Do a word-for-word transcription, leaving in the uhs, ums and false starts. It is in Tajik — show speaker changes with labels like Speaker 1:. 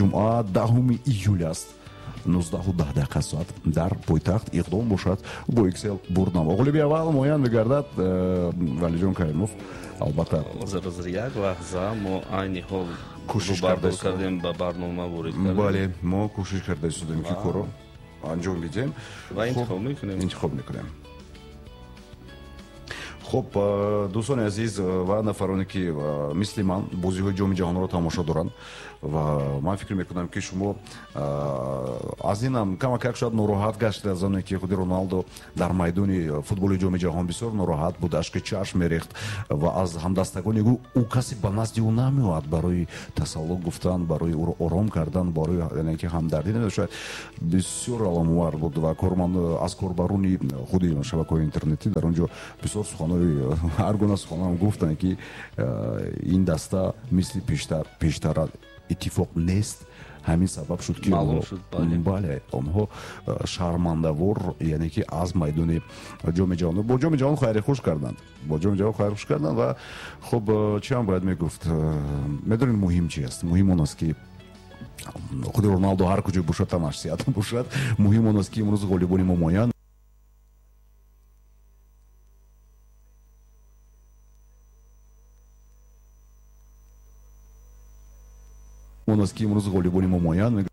Speaker 1: Ҷумъа, даҳуми июл аст, нуздаҳу даҳ дақиқа соат дар пойтахт иқдом бошад бо Иксел бурднамо. Ғолиби аввал муайян мегардад Валиҷон Каримов. Албатта,
Speaker 2: ҳозир ҳозир як лаҳза, мо айни ҳол
Speaker 1: кӯшиш
Speaker 2: кардем, ба барнома ворид кардем.
Speaker 1: Бале, мо кӯшиш карда истодем, ки корро анҷом бидиҳем
Speaker 2: ва интихоб мекунем.
Speaker 1: Интихоб мекунем. Хуб, дӯстони азиз ва нафароне, ки мисли ман бозиҳои Ҷоми ҷаҳонро тамошо доранд, ва ман фикр мекунам, ки шумо аз инам камакак шояд нороҳат гаштед, аз оне ки худи Роналдо дар майдони футболи Ҷоми ҷаҳон бисёр нороҳат буд, ашки чашм мерехт ва аз ҳамдастагони ӯ ӯ касе ба назди ӯ намеояд барои тасалло гуфтан, барои ӯро ором кардан, барои яъне ки ҳамдардӣ намеояд. Шояд бисёр аламовар буд ва корманд аз корбарони худи шабакаҳои интернетӣ дар он ҷо бисёр суханҳои, ҳар гуна суханҳоам гуфтанд, ки ин даста мисли пештар пештара иттифоқ нест. Ҳамин сабаб шуд, ки бале, онҳо шармандавор, яъне ки аз майдони Ҷоми ҷаҳон бо Ҷоми ҷаҳон хайри хуш карданд, бо Ҷоми ҷаҳон хайри хуш карданд. Ва хуб, чӣ ҳам бояд мегуфт? Медонед, муҳим чи аст? Муҳим он аст, ки худи Роналдо ҳар куҷо бошад, танаш сиҳат бошад. Муҳим он аст, ки имрӯз ғолибони мо муайян он аст, ки имрӯз ғолибони мо муайян